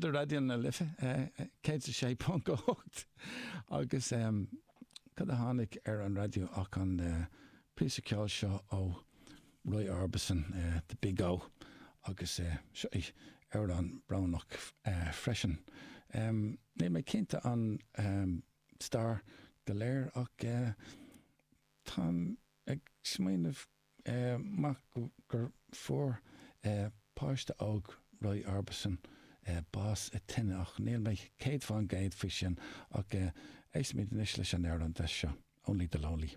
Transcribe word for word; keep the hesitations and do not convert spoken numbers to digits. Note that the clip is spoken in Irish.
do Raidió na Life céad sé ponc ocht agus cad a tháinig ar an raidió ach an píosa ceoil seo ó Roy Orbison The Big O agus seo é amhrán brónach freisin. Níl mé cinnte an stair go léir ach táim ag smaoineamh maith gur fuair páiste óg Roy Orbison bás i tine ach níl mé céad faoin gcéad faoi sin ach éistfimid anois leis an amhrán deas seo, Only the Lonely.